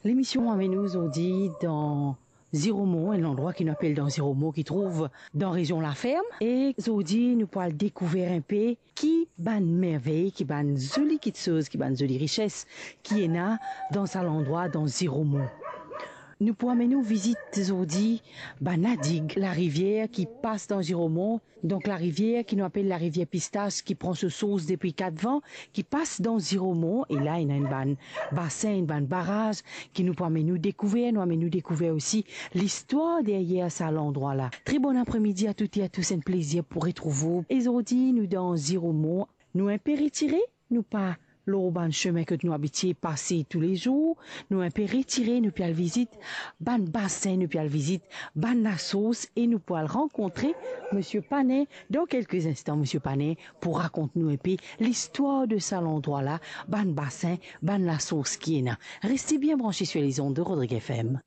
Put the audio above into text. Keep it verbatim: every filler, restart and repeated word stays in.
Lemision amenn nou zordi dan Ziromon, enn landrwa ki nou apel dan Ziromon, ki trouv dan rezion Laferm. E zordi nou pou al dekouver inpe ki bann mervey, ki bann zoli kitsoz, ki bann zoli rises ki ena dan sa landrwa, dan Ziromon. Nou pou amenn nou vizit zordi bann ladig, larivier ki pas dan Ziromon. Donk larivier ki nou apel larivier Pistas, ki pran so sours depi Katvan, ki pas dan Ziromon, e la ena enn bann basin, enn bann baraz ki nou pou amenn nou dekouver. Nou amenn nou dekouver osi listwar deryer sa landrwa la. Tre bon apremidi a tout e a tous, enn plezir pou retrouv ou. E zordi nou dan Ziromon, nou inpe retire, nou pa lor bann sime kot nou abitie pase toulezour, nou inpe retire, nou pe al vizit bann basin, nou pe al vizit bann lasours, e nou pou al rankontre Misie Panin dan kelke instan. Misie Panin pou rakont nou inpe listwar de sa landrwa la, bann basin, bann lasours ki ena. Reste bien branche sur les ondes de Rodrigues F M.